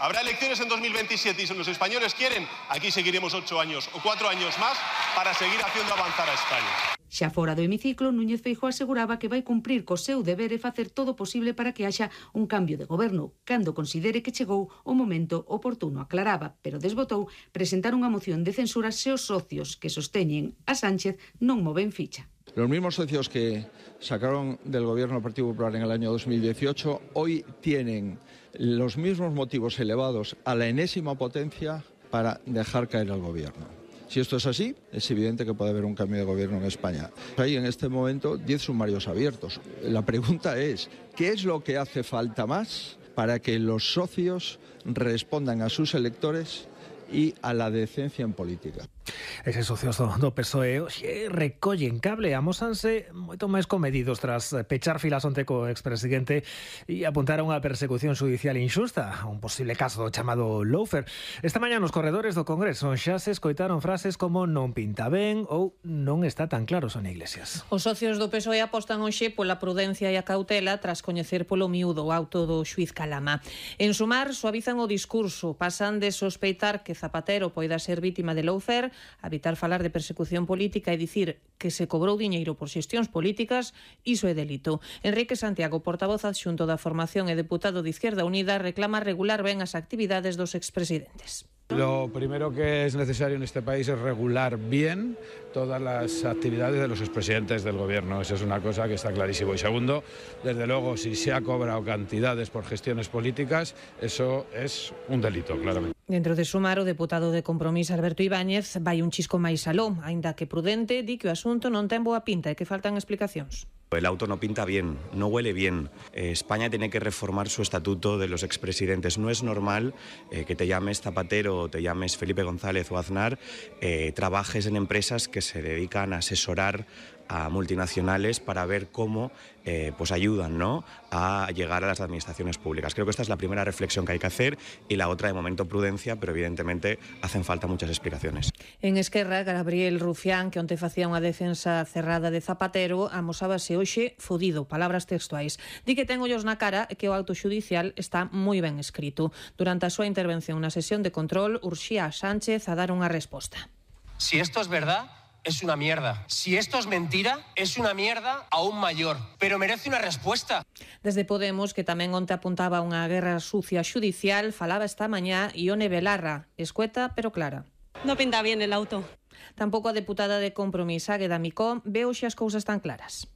Habrá elecciones en 2027 y si los españoles quieren, aquí seguiremos 8 años o 4 años más para seguir haciendo avanzar a España. Xa fora do hemiciclo, Núñez Feijóo aseguraba que vai cumprir co seu deber e facer todo o posible para que haxa un cambio de goberno, cando considere que chegou o momento oportuno, aclaraba, pero desbotou presentar unha moción de censura se os socios que sosteñen a Sánchez non moven ficha. Los mismos socios que sacaron del gobierno del Partido Popular en el año 2018 hoy tienen los mismos motivos elevados a la enésima potencia para dejar caer al gobierno. Si esto es así, es evidente que puede haber un cambio de gobierno en España. Hay en este momento 10 sumarios abiertos. La pregunta es, ¿qué es lo que hace falta más para que los socios respondan a sus electores y a la decencia en política? Eses socios do PSOE hoxe recollen cable, amósanse moito máis comedidos tras pechar filas onte co expresidente e apuntar a unha persecución judicial injusta, un posible caso do chamado lawfare. Esta mañá nos corredores do Congreso xa se escoitaron frases como non pinta ben ou non está tan claro, Sonia Iglesias. Os socios do PSOE apostan hoxe pola prudencia e a cautela tras coñecer polo miúdo o auto do xuiz Calama. En Sumar, suavizan o discurso, pasan de sospeitar que Zapatero poida ser vítima de lawfare a evitar falar de persecución política e dicir que se cobrou diñeiro por xestións políticas, iso é delito. Enrique Santiago, portavoz adxunto da formación e deputado de Izquierda Unida, reclama regular ben as actividades dos expresidentes. Lo primero que es necesario en este país es regular bien todas las actividades de los expresidentes del gobierno. Esa es una cosa que está clarísimo. Y segundo, desde luego, si se ha cobrado cantidades por gestiones políticas, eso es un delito, claramente. Dentro de Sumar, o deputado de Compromís, Alberto Ibáñez, vai un chisco máis aló, aínda que prudente, di que o asunto non ten boa pinta e que faltan explicacións. El auto no pinta bien, no huele bien. España tiene que reformar su estatuto de los expresidentes. No es normal que te llames Zapatero o te llames Felipe González o Aznar, trabajes en empresas que se dedican a asesorar a multinacionales para ver cómo pues ayudan, ¿no?, a llegar a las administraciones públicas. Creo que esta es la primera reflexión que hay que hacer y la otra, de momento, prudencia, pero evidentemente hacen falta muchas explicaciones. En Esquerra, Gabriel Rufián, que onte facía unha defensa cerrada de Zapatero, amosábase hoxe fodido, palabras textuais. Di que ten ollos na cara e que o auto xudicial está moi ben escrito. Durante a súa intervención na sesión de control, urxía a Sánchez a dar unha resposta. Si esto es verdad, es una mierda. Si esto es mentira, es una mierda aún mayor. Pero merece una respuesta. Desde Podemos, que tamén onte apuntaba a unha guerra sucia xudicial, falaba esta mañá Ione Belarra, escueta pero clara. No pinta bien el auto. Tampouco a deputada de Compromís, Águeda Micó, ve hoxe as cousas tan claras.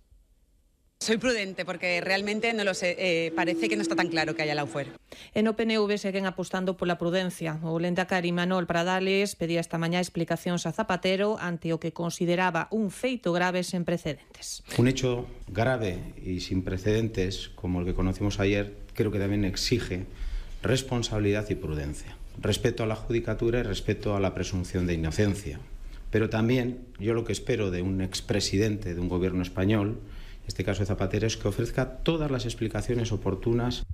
Soy prudente porque realmente no lo sé, parece que no está tan claro que haya lawfare. En o PNV seguen apostando pola prudencia. O lehendakari Manuel Pradales pedía esta mañá explicacións a Zapatero ante o que consideraba un feito grave sen precedentes. Un hecho grave y sin precedentes, como el que conocimos ayer, creo que también exige responsabilidad y prudencia. Respeto a la judicatura y respeto a la presunción de inocencia. Pero también yo lo que espero de un expresidente de un gobierno español, en este caso de Zapatero, es que ofrezca todas las explicaciones oportunas.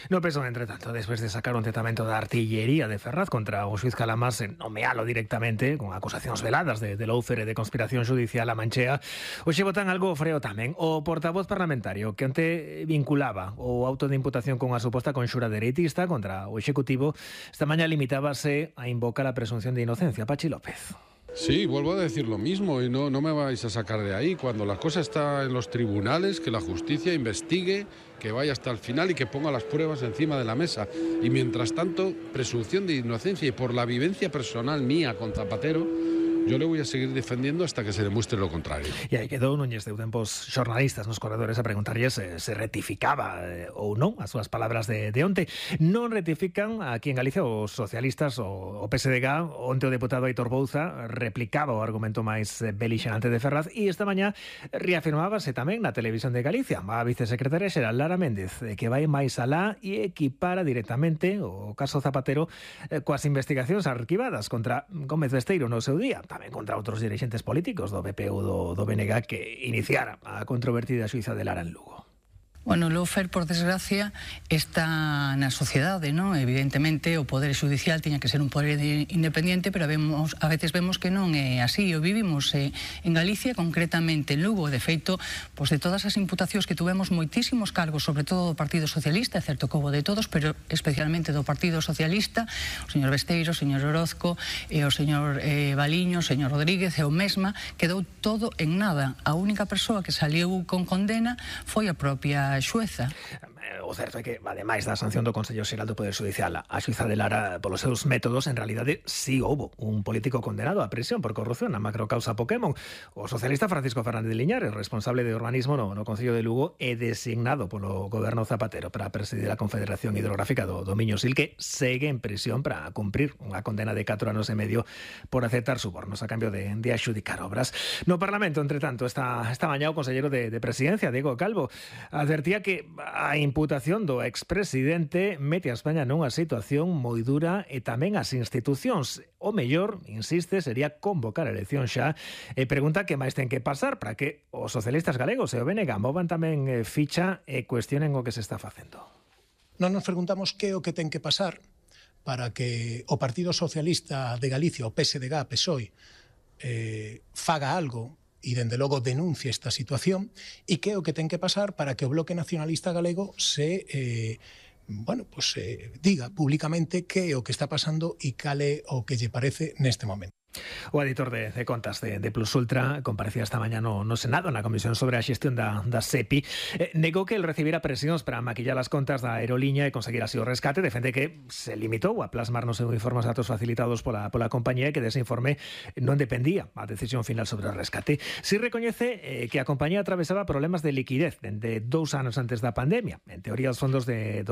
No PSOE, entre tanto, despois de sacar un tratamento da artillería de Ferraz contra o xuiz Calamás en nomealo directamente, con acusacións veladas de lawfare e de conspiración judicial a manchea, hoxe botan algo freo tamén. O portavoz parlamentario que onte vinculaba o auto de imputación con a suposta conxura dereitista contra o Executivo, esta mañá limitábase a invocar a presunción de inocencia. Pachi López. Sí, vuelvo a decir lo mismo y no me vais a sacar de ahí. Cuando la cosa está en los tribunales, que la justicia investigue, que vaya hasta el final y que ponga las pruebas encima de la mesa. Y mientras tanto, presunción de inocencia y por la vivencia personal mía con Zapatero, yo le voy a seguir defendiendo hasta que se demuestre lo contrario. E aí quedou Núñez deu tempos xornalistas nos corredores a preguntarlles se rectificaba ou non as súas palabras de onte. Non rectifican aquí en Galicia os socialistas o PSDG. Onte o deputado Aitor Bouza replicaba o argumento máis belixante de Ferraz e esta mañá reafirmábase tamén na televisión de Galicia a vicesecretaria xeral Lara Méndez que vai máis alá e equipara directamente o caso Zapatero coas investigacións arquivadas contra Gómez Besteiro no seu día, tamén contra outros dirixentes políticos do PP ou do BNG que iniciara a controvertida xuíza de Lara en Lugo. Bueno, o lawfare, por desgracia, está na sociedade, non? Evidentemente, o Poder Xudicial tiña que ser un poder independente, pero a veces vemos que non é así. O vivimos en Galicia, concretamente en Lugo. De feito, de todas as imputacións que tuvemos moitísimos cargos, sobre todo do Partido Socialista, é certo que houbo de todos, pero especialmente do Partido Socialista, o señor Besteiro, o señor Orozco, e o señor Baliño, o señor Rodríguez e o mesma, quedou todo en nada. A única persoa que saliu con condena foi a propia xueza. O certo é que, ademais da sanción do Consello Xeral do Poder Judicial, a xuíza de Lara, polos seus métodos, en realidade, sí houbo un político condenado a prisión por corrupción na macrocausa Pokémon. O socialista Francisco Fernández de Liñares, responsable de urbanismo no Concello de Lugo, é designado polo goberno Zapatero para presidir a Confederación Hidrográfica do Miño Sil, que segue en prisión para cumprir unha condena de 4 anos e medio por aceptar subornos a cambio de axudicar obras. No Parlamento, entre tanto, esta mañá o conselleiro de Presidencia, Diego Calvo, advertía que a imputación do expresidente mete a España nunha situación moi dura e tamén as institucións. O mellor, insiste, sería convocar a elección xa e pregunta que máis ten que pasar para que os socialistas galegos e o BNG movan tamén ficha e cuestionen o que se está facendo. Non nos preguntamos que é o que ten que pasar para que o Partido Socialista de Galicia, o PSDG, PSOE, faga algo e, dende logo, denuncie esta situación, e que é o que ten que pasar para que o Bloque Nacionalista Galego se diga públicamente que é o que está pasando e cal é o que lle parece neste momento. O editor de contas de Plus Ultra comparecía esta mañá no Senado na comisión sobre a xestión da SEPI. Negou que el recibira presións para maquillar as contas da aeroliña e conseguir así o rescate. Defende que se limitou a plasmar no seu informe os datos facilitados pola compañía e que dese informe non dependía a decisión final sobre o rescate. Si recoñece que a compañía atravesaba problemas de liquidez dende 2 anos antes da pandemia. En teoría, os fondos de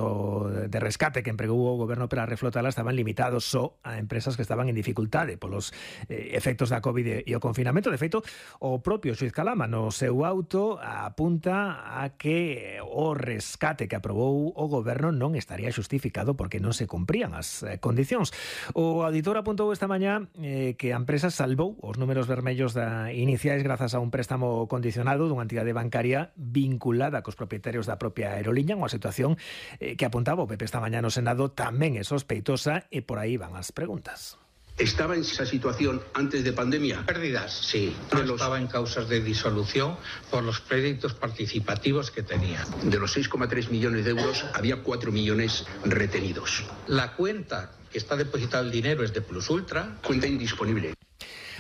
rescate que empregou o goberno para reflotala estaban limitados só a empresas que estaban en dificultade polos efectos da COVID e o confinamento. De feito, o propio xuiz Calama no seu auto apunta a que o rescate que aprobou o goberno non estaría xustificado porque non se cumprían as condicións. O auditor apuntou esta mañá que a empresa salvou os números vermellos iniciais grazas a un préstamo condicionado dunha entidade bancaria vinculada cos propietarios da propia aeroliña, unha situación que apuntaba o PP esta mañá no Senado tamén é sospeitosa e por aí van as preguntas. ¿Estaba en esa situación antes de pandemia? Pérdidas, sí. No estaba en causas de disolución por los créditos participativos que tenía. De los 6,3 millones de euros, había 4 millones retenidos. La cuenta que está depositado el dinero es de Plus Ultra. Cuenta indisponible.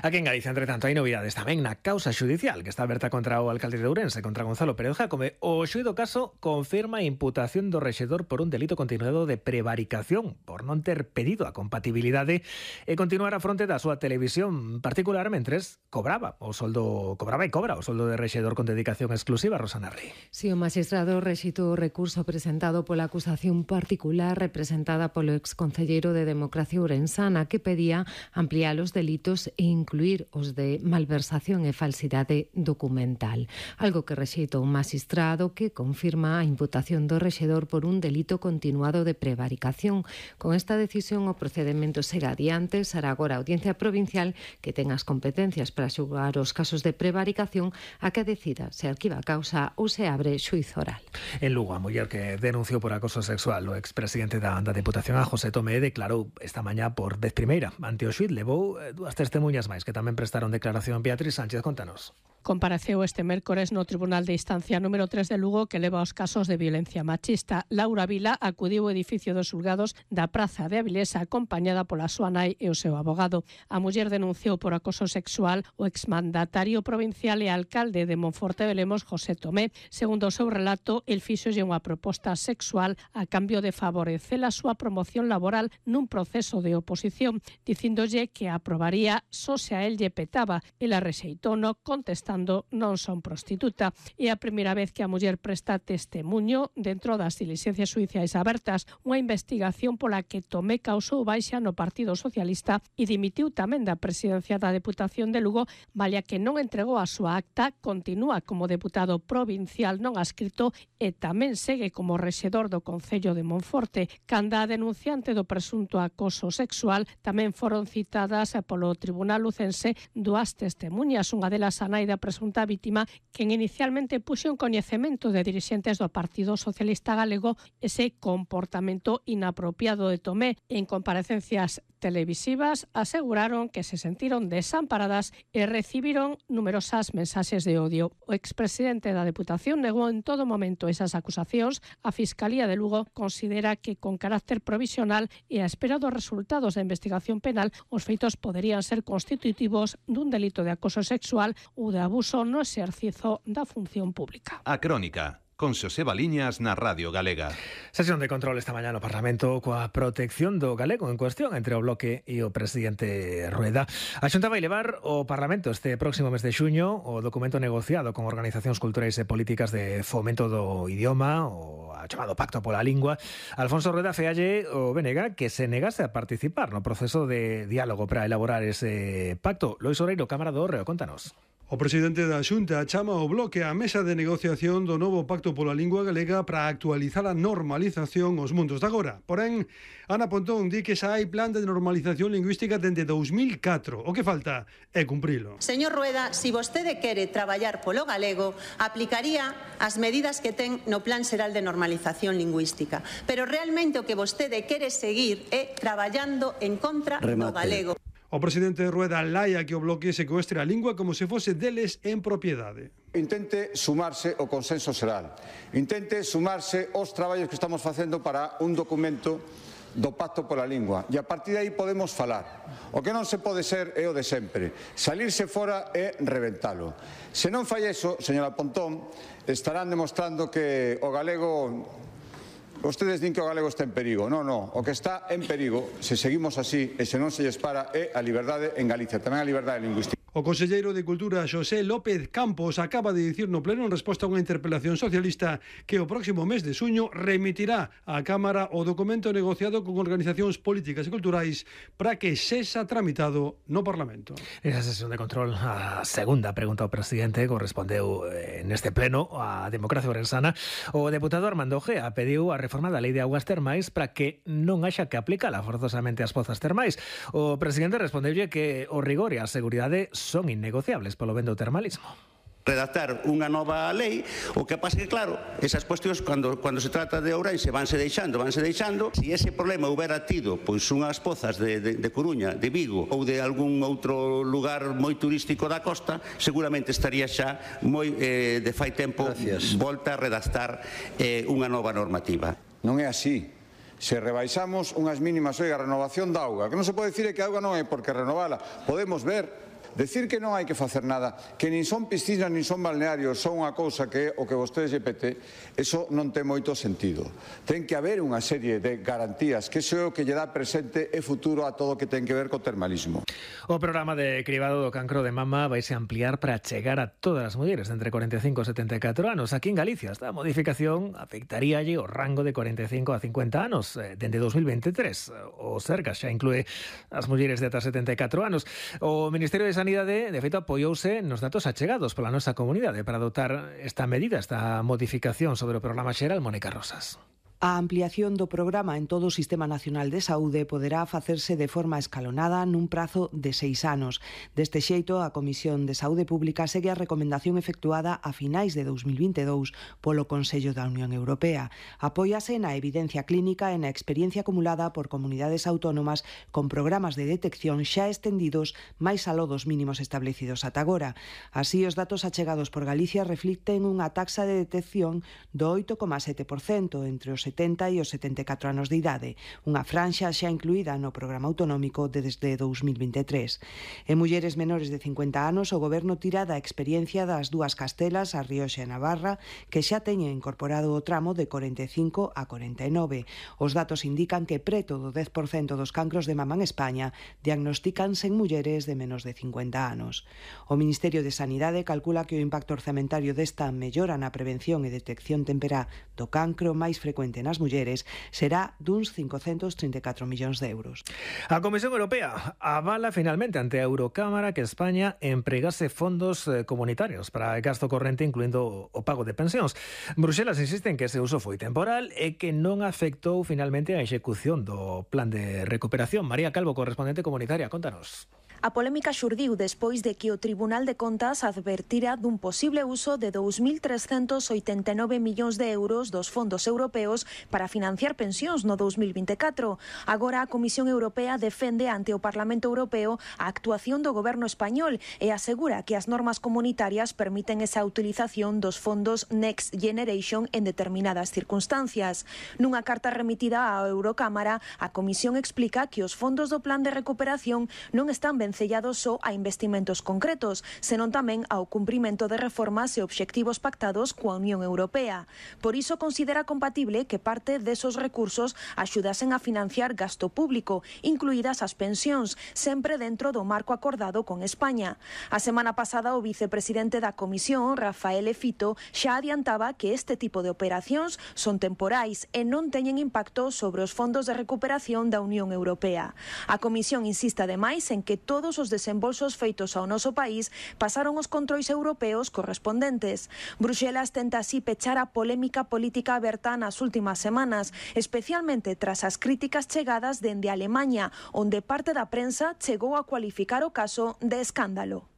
Aquí en Galicia, entre tanto, hai novidades tamén na causa xudicial que está aberta contra o alcalde de Ourense, contra Gonzalo Pérez Jácome. O xuíz do caso confirma a imputación do rexedor por un delito continuado de prevaricación por non ter pedido a compatibilidade e continuar a fronte da súa televisión particular mentres cobraba o soldo de rexedor con dedicación exclusiva. Rosana Rey. Si o magistrado rexitou o recurso presentado pola acusación particular representada polo exconcelleiro de Democracia Ourensana que pedía ampliar os delitos e incluir os de malversación e falsidade documental, algo que rexeitou un magistrado que confirma a imputación do rexedor por un delito continuado de prevaricación. Con esta decisión o procedemento segue adiante, será agora a Audiencia Provincial que ten as competencias para xulgar os casos de prevaricación a que decida se arquiva a causa ou se abre xuízo oral. En Lugo, a muller que denunciou por acoso sexual o expresidente da Deputación, a José Tomé, declarou esta mañá por vez primeira ante o xuíz. Levou 2 testemunhas máis que tamén prestaron declaración. Beatriz Sánchez, contanos. Compareceu este mércores no Tribunal de Instancia número 3 de Lugo que leva os casos de violencia machista. Laura Vila acudiu ao edificio dos xulgados da Praza de Avilés acompañada pola súa nai e o seu abogado. A muller denunciou por acoso sexual o exmandatario provincial e alcalde de Monforte de Lemos, José Tomé. Segundo o seu relato, el fíxolle unha proposta sexual a cambio de favorecer a súa promoción laboral nun proceso de oposición, dicíndolle que aprobaría só se a él lle petaba. Ela rexeitou-no contestando non son prostituta. É a primeira vez que a muller presta testemunho dentro das diligencias xudiciais abertas, unha investigación pola que Tomé causou baixa no Partido Socialista e dimitiu tamén da presidencia da Deputación de Lugo, malia que non entregou a súa acta, continúa como deputado provincial non adscrito e tamén segue como rexedor do Concello de Monforte. Canda a denunciante do presunto acoso sexual tamén foron citadas polo Tribunal lúcense dúas testemunhas, unha delas a nai da presunta vítima, quen inicialmente puxo en coñecemento de dirixentes do Partido Socialista Galego ese comportamento inapropiado de Tomé. En comparecencias televisivas aseguraron que se sentiron desamparadas e recibiron numerosas mensaxes de odio. O expresidente da Deputación negou en todo momento esas acusacións. A Fiscalía de Lugo considera que con carácter provisional e a espera dos resultados da investigación penal os feitos poderían ser constitutivos dun delito de acoso sexual ou de abuso no exercizo da función pública. A Crónica, con Xoseba Liñas na Radio Galega. Sesión de control esta mañá no Parlamento coa protección do galego en cuestión entre o Bloque e o presidente Rueda. A Xunta vai levar ao Parlamento este próximo mes de xuño o documento negociado con organizacións culturais e políticas de fomento do idioma, o chamado Pacto pola Lingua. Alfonso Rueda fealle o BNG que se negase a participar no proceso de diálogo para elaborar ese pacto. Lois Oreiro, Cámara do Hórreo, contanos. O presidente da Xunta chama ao Bloque á mesa de negociación do novo Pacto pola Lingua Galega para actualizar a normalización aos mundos de agora. Porén, Ana Pontón di que xa hai plan de normalización lingüística dende 2004. O que falta é cumprilo. Señor Rueda, se vostede quere traballar polo galego, aplicaría as medidas que ten no Plan Xeral de Normalización Lingüística. Pero realmente o que vostede quere seguir é traballando en contra do galego. O presidente Rueda laia que o Bloque secuestre a lingua como se fose deles en propiedade. Intente sumarse ao consenso xeral. Intente sumarse aos traballos que estamos facendo para un documento do Pacto pola Lingua. E a partir de aí podemos falar. O que non se pode ser é o de sempre. Salirse fora e reventalo. Se non fai eso, señora Pontón, estarán demostrando que o galego... Vostedes din que o galego está en perigo. Non, o que está en perigo, se seguimos así e se non se lles para, é a liberdade en Galicia, tamén a liberdade lingüística. O conselleiro de Cultura, Xosé López Campos, acaba de dicir no pleno en resposta a unha interpelación socialista que o próximo mes de xuño remitirá á Cámara o documento negociado con organizacións políticas e culturais para que sexa tramitado no Parlamento. Esa sesión de control, a segunda pregunta ao presidente, correspondeu neste pleno a democracia orensana. O deputado Armando Gea pediu a reforma da Lei de Augas Termais para que non haxa que aplicala forzosamente ás pozas termais. O presidente respondeulle que o rigor e a seguridade son innegociables polo ben do termalismo. Redactar unha nova lei, o que pasa que claro, esas cuestións cando se trata de Ourense vanse deixando. Se ese problema houbera tido pois unhas pozas de Coruña, de Vigo ou de algún outro lugar moi turístico da costa, seguramente estaría xa moi de fai tempo volta a redactar unha nova normativa. Non é así. Se rebaixamos unhas mínimas, a renovación da auga, que non se pode dicir que a auga non hai por que renovala. Podemos ver. Decir que non hai que facer nada, que nin son piscinas nin son balnearios, son unha cousa que é o que vostedes lle pete, eso non ten moito sentido. Ten que haber unha serie de garantías, que iso é o que lle dá presente e futuro a todo o que ten que ver co termalismo. O programa de cribado do cancro de mama vaise ampliar para chegar a todas as mulleres entre 45 e 74 anos. Aquí en Galicia esta modificación afectaríalle o rango de 45 a 50 anos dende 2023. O Sergas xa inclúe as mulleres de ata 74 anos. O Ministerio de Sanidade, de feito, apoiouse nos datos achegados pola nosa comunidade para adotar esta medida, esta modificación sobre o programa xeral. Mónica Rosas. A ampliación do programa en todo o Sistema Nacional de Saúde poderá facerse de forma escalonada nun prazo de 6 anos. Deste xeito, a Comisión de Saúde Pública segue a recomendación efectuada a finais de 2022 polo Consello da Unión Europea. Apóiase na evidencia clínica e na experiencia acumulada por comunidades autónomas con programas de detección xa estendidos máis aló dos mínimos establecidos ata agora. Así, os datos achegados por Galicia reflicten unha taxa de detección do 8,7% entre os 70 e os 74 anos de idade, unha franxa xa incluída no programa autonómico desde 2023. En mulleres menores de 50 anos, o Goberno tira da experiencia das dúas Castelas, a Rioxa e Navarra, que xa teñen incorporado o tramo de 45 a 49. Os datos indican que preto do 10% dos cancros de mama en España diagnostícanse en mulleres de menos de 50 anos. O Ministerio de Sanidade calcula que o impacto orzamentario desta mellora na prevención e detección temperá do cancro máis frecuente nas mulleres será duns 534 millóns de euros. A Comisión Europea avala finalmente ante a Eurocámara que España empregase fondos comunitarios para gasto corrente, incluindo o pago de pensións. Bruxelas insiste en que ese uso foi temporal e que non afectou finalmente a execución do plan de recuperación. María Calvo, correspondente comunitaria, contanos. A polémica xurdiu despois de que o Tribunal de Contas advertira dun posible uso de 2.389 millóns de euros dos fondos europeos para financiar pensións no 2024. Agora a Comisión Europea defende ante o Parlamento Europeo a actuación do goberno español e asegura que as normas comunitarias permiten esa utilización dos fondos Next Generation en determinadas circunstancias. Nunha carta remitida á Eurocámara, a Comisión explica que os fondos do Plan de Recuperación non están vencellados só a investimentos concretos, senón tamén ao cumprimento de reformas e obxectivos pactados coa Unión Europea. Por iso considera compatible que parte desos recursos axudasen a financiar gasto público, incluídas as pensións, sempre dentro do marco acordado con España. A semana pasada o vicepresidente da Comisión, Rafael Fito, xa adiantaba que este tipo de operacións son temporais e non teñen impacto sobre os fondos de recuperación da Unión Europea. A Comisión insiste ademais en que todos os desembolsos feitos ao noso país pasaron os controis europeos correspondentes. Bruxelas tenta así pechar a polémica política aberta nas últimas semanas, especialmente tras as críticas chegadas dende Alemaña, onde parte da prensa chegou a cualificar o caso de escándalo.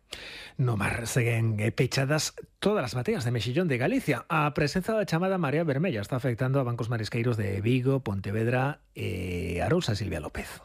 No mar seguen pechadas todas as bateas de mexillón de Galicia. A presenza da chamada Marea Vermella está afectando a bancos marisqueiros de Vigo, Pontevedra e Arousa. Silvia López.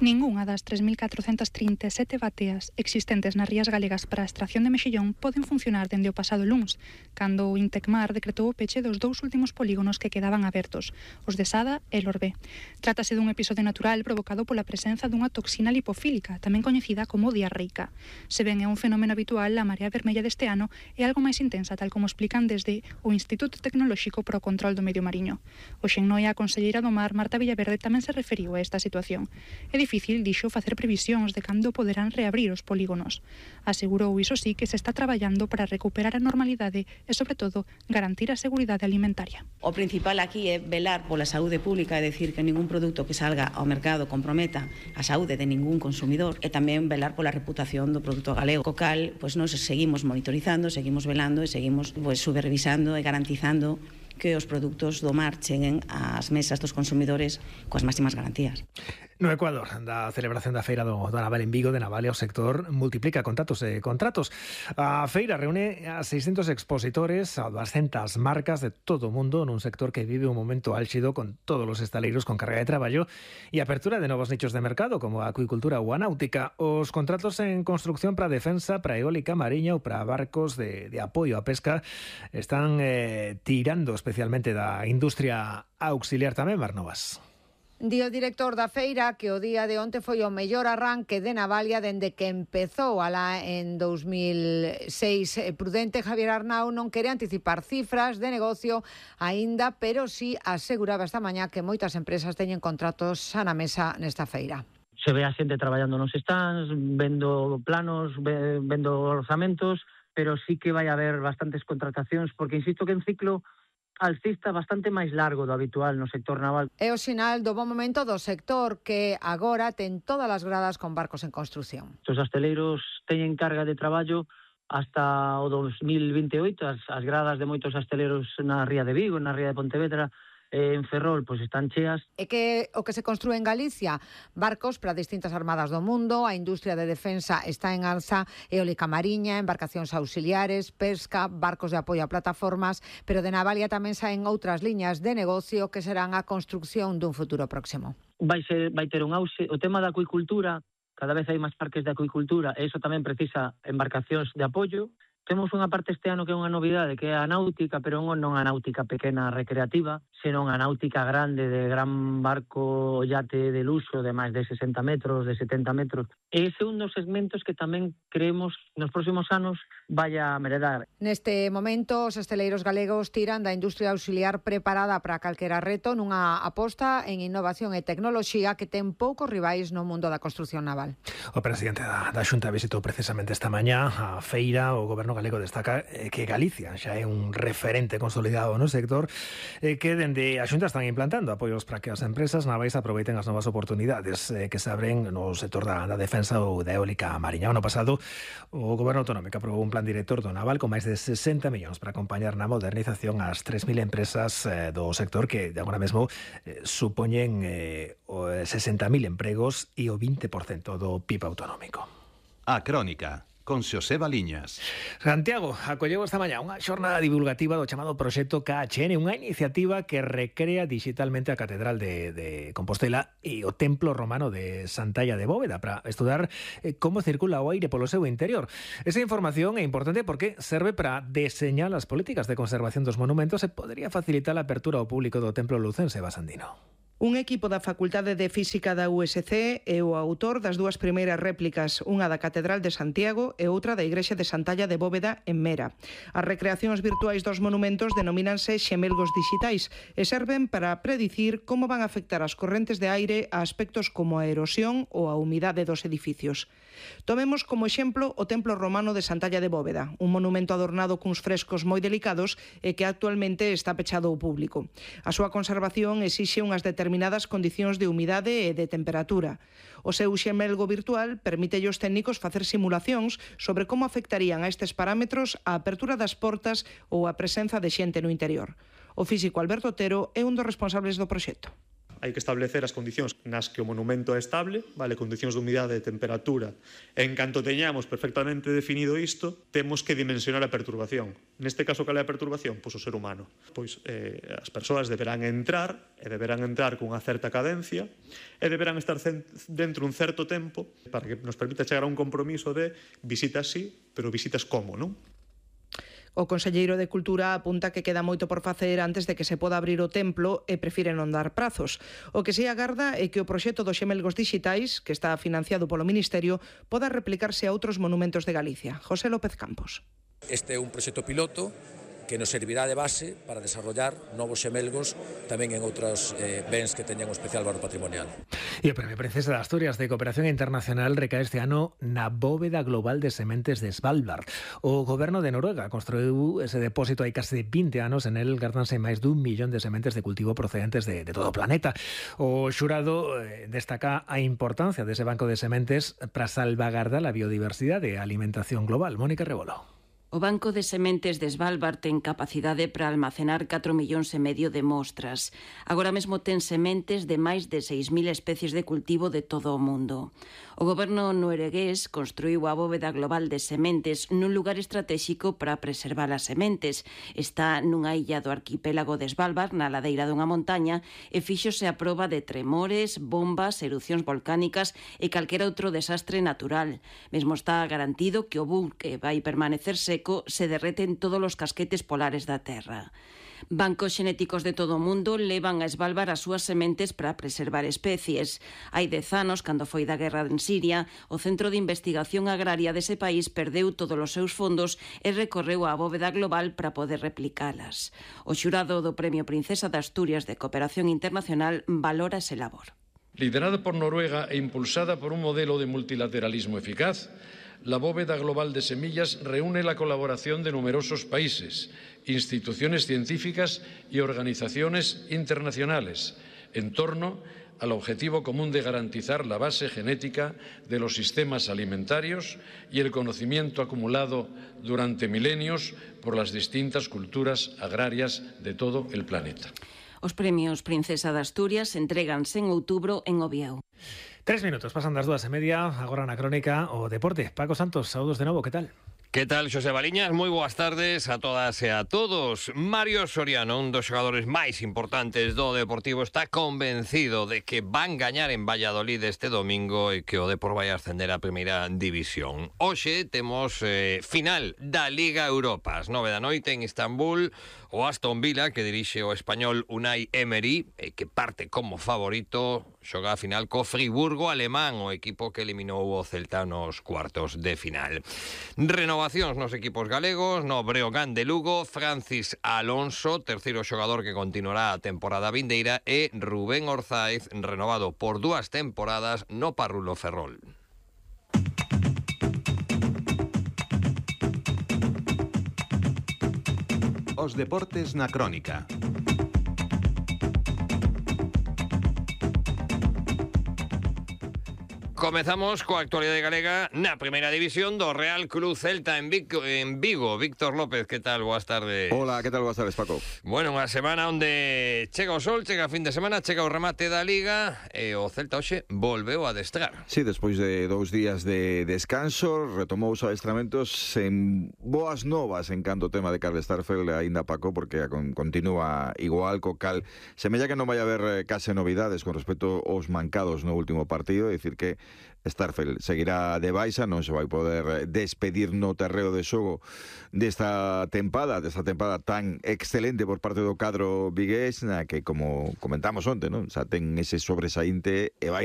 Ningunha das 3.437 bateas existentes nas rías galegas para a extracción de mexillón poden funcionar dende o pasado luns, cando o Intecmar decretou o peche dos 2 últimos polígonos que quedaban abertos, os de Sada e Lorbé. Trátase dun episodio natural provocado pola presenza dunha toxina lipofílica, tamén coñecida como diarreica. Se ben é un fenómeno habitual, a Marea Vermella deste ano é algo máis intensa, tal como explican desde o Instituto Tecnolóxico para o Control do Medio Mariño. Hoxe en Noia, a conselleira do Mar, Marta Villaverde, tamén se referiu a esta situación. É difícil, dixo, facer previsións de cando poderán reabrir os polígonos. Asegurou, iso sí, que se está traballando para recuperar a normalidade e, sobre todo, garantir a seguridade alimentaria. O principal aquí é velar pola saúde pública, é dicir, que ningún produto que salga ao mercado comprometa a saúde de ningún consumidor, e tamén velar pola reputación do produto galego. Co cal, nos seguimos monitorizando, seguimos velando e seguimos supervisando e garantizando que os produtos do mar cheguen ás mesas dos consumidores coas máximas garantías. No Ecuador, da celebración da Feira do Naval en Vigo, de Navalia, o sector multiplica contratos e contratos. A feira reúne a 600 expositores, a 200 marcas de todo o mundo nun sector que vive un momento álxido con todos os estaleiros con carga de traballo e apertura de novos nichos de mercado como a acuicultura ou a náutica. Os contratos en construcción para defensa, para eólica mariña ou para barcos de apoio á pesca están tirando especialmente da industria auxiliar tamén, Mar Novas. Di o director da feira que o día de onte foi o mellor arranque de Navalia dende que empezou alá en 2006. Prudente Javier Arnau non quere anticipar cifras de negocio aínda, pero sí aseguraba esta mañá que moitas empresas teñen contratos xa na mesa nesta feira. Se ve a xente traballando nos stands, vendo planos, vendo orzamentos, pero sí que vai haber bastantes contratacións, porque insisto que en ciclo alcista bastante máis largo do habitual no sector naval. É o sinal do bon momento do sector que agora ten todas as gradas con barcos en construción. Os asteleiros teñen carga de traballo hasta o 2028, as gradas de moitos asteleiros na ría de Vigo, na ría de Pontevedra, en Ferrol, pois están cheas. E que o que se construe en Galicia, barcos para distintas armadas do mundo, a industria de defensa está en alza, eólica mariña, embarcacións auxiliares, pesca, barcos de apoio a plataformas, pero de Navalia tamén saen outras liñas de negocio que serán a construcción dun futuro próximo. Vai ter un auxe, o tema da acuicultura, cada vez hai máis parques de acuicultura, e iso tamén precisa embarcacións de apoio. Temos unha parte este ano que é unha novidade, que é a náutica, pero non a náutica pequena recreativa, senón a náutica grande, de gran barco yate de luxo de máis de 60 metros, de 70 metros. E ese é un dos segmentos que tamén creemos nos próximos anos vai a meredar. Neste momento, os esteleiros galegos tiran da industria auxiliar preparada para calquera reto nunha aposta en innovación e tecnoloxía que ten poucos rivais no mundo da construción naval. O presidente da Xunta visitou precisamente esta mañá a feira. O goberno galego destaca que Galicia xa é un referente consolidado no sector, que dende a Xunta están implantando apoios para que as empresas navais aproveiten as novas oportunidades que se abren no sector da defensa ou da eólica mariña. O ano pasado, o goberno autonómico aprobou un plan director do naval con máis de 60 millóns para acompañar na modernización as 3.000 empresas do sector que agora mesmo supoñen 60.000 empregos e o 20% do PIB autonómico. A Crónica, con Xosé Baliñas. Santiago acolleu esta mañá unha xornada divulgativa do chamado Proxecto KHN, unha iniciativa que recrea digitalmente a Catedral de Compostela e o Templo Romano de Santalla de Bóveda para estudar como circula o aire polo seu interior. Esa información é importante porque serve para deseñar as políticas de conservación dos monumentos e podería facilitar a apertura ao público do Templo Lucense Basandino. Un equipo da Facultade de Física da USC é o autor das dúas primeiras réplicas, unha da Catedral de Santiago e outra da Igrexa de Santalla de Bóveda en Mera. As recreacións virtuais dos monumentos denomínanse xemelgos dixitais e serven para predicir como van a afectar as correntes de aire a aspectos como a erosión ou a humidade dos edificios. Tomemos como exemplo o Templo Romano de Santalla de Bóveda, un monumento adornado cuns frescos moi delicados e que actualmente está pechado ao público. A súa conservación exixe unhas determinadas condicións de humidade e de temperatura. O seu xemelgo virtual permite aos técnicos facer simulacións sobre como afectarían a estes parámetros a apertura das portas ou a presenza de xente no interior. O físico Alberto Otero é un dos responsables do proxecto. Hai que establecer as condicións nas que o monumento é estable, vale, condicións de humidade e temperatura. En canto teñamos perfectamente definido isto, temos que dimensionar a perturbación. Neste caso, cal é a perturbación? Pois o ser humano. Pois as persoas deberán entrar cunha certa cadencia e deberán estar dentro un certo tempo para que nos permita chegar a un compromiso de visitas sí, pero visitas como, non? O conselleiro de Cultura apunta que queda moito por facer antes de que se poda abrir o templo e prefire non dar prazos. O que se agarda é que o proxecto dos xemelgos dixitais, que está financiado polo Ministerio, poda replicarse a outros monumentos de Galicia. José López Campos. Este é un proxecto piloto que nos servirá de base para desarrollar novos xemelgos tamén en outros bens que teñan un especial valor patrimonial. E o Premio Princesa de Asturias de Cooperación Internacional recae este ano na Bóveda Global de Sementes de Svalbard. O goberno de Noruega construiu ese depósito hai case 20 anos, en el gardanse máis dun millón de sementes de cultivo procedentes de todo o planeta. O xurado destaca a importancia dese banco de sementes para salvagardar a biodiversidade e a alimentación global. Mónica Rebolo. O Banco de Sementes de Svalbard ten capacidade para almacenar 4,5 millóns de mostras. Agora mesmo ten sementes de máis de 6.000 especies de cultivo de todo o mundo. O goberno noruegués construiu a Bóveda Global de Sementes nun lugar estratéxico para preservar as sementes. Está nunha illa do arquipélago de Svalbard, na ladeira dunha montaña, e fíxose a proba de tremores, bombas, erupcións volcánicas e calquera outro desastre natural. Mesmo está garantido que o buque vai permanecer seco se derreten todos os casquetes polares da Terra. Bancos xenéticos de todo o mundo levan a Svalbard as súas sementes para preservar especies. Hai 10 anos, cando foi da guerra en Siria, o Centro de Investigación Agraria dese país perdeu todos os seus fondos e recorreu á Bóveda Global para poder replicalas. O xurado do Premio Princesa de Asturias de Cooperación Internacional valora ese labor. Liderada por Noruega e impulsada por un modelo de multilateralismo eficaz, la Bóveda Global de Semillas reúne la colaboración de numerosos países, instituciones científicas y organizaciones internacionales en torno al objetivo común de garantizar la base genética de los sistemas alimentarios y el conocimiento acumulado durante milenios por las distintas culturas agrarias de todo el planeta. Os premios Princesa de Asturias entréganse en outubro en Ovieu. 3 minutos, pasan das 2:30, agora na crónica o deporte. Paco Santos, saúdos de novo, que tal? Que tal, Xosé Baliñas? Moi boas tardes a todas e a todos. Mario Soriano, un dos xogadores máis importantes do Deportivo, está convencido de que van gañar en Valladolid este domingo e que o Depor vai ascender a primeira división. Hoxe temos final da Liga Europa. Ás 9 da noite en Istambul, o Aston Villa, que dirixe o español Unai Emery, que parte como favorito, xoga a final co Friburgo alemán, o equipo que eliminou o Celta nos cuartos de final. Renovacións nos equipos galegos, no Breogán de Lugo, Francis Alonso, terceiro xogador que continuará a temporada vindeira, e Rubén Orzaiz, renovado por 2 temporadas no Parrulo Ferrol. Os deportes na crónica. Comezamos coa actualidade galega na primeira división do Real Club Celta en Vigo. Víctor López, que tal? Boas tardes. Hola, que tal? Boas tardes, Paco. Bueno, unha semana onde chega o sol, chega a fin de semana, chega o remate da Liga e o Celta hoxe volveu a adestrar. Sí, despois de 2 días de descanso, retomou os adestramentos en boas novas en canto o tema de Carl Starfel aínda, Paco, porque continúa igual, co cal semella que non vai haber case novidades con respecto aos mancados no último partido, é dicir que Starfel seguirá de baixa, non se vai poder despedir no terreo de xogo desta tempada tan excelente por parte do cadro vigués, na que, como comentamos onte, non? Xa ten ese sobresaínte e vai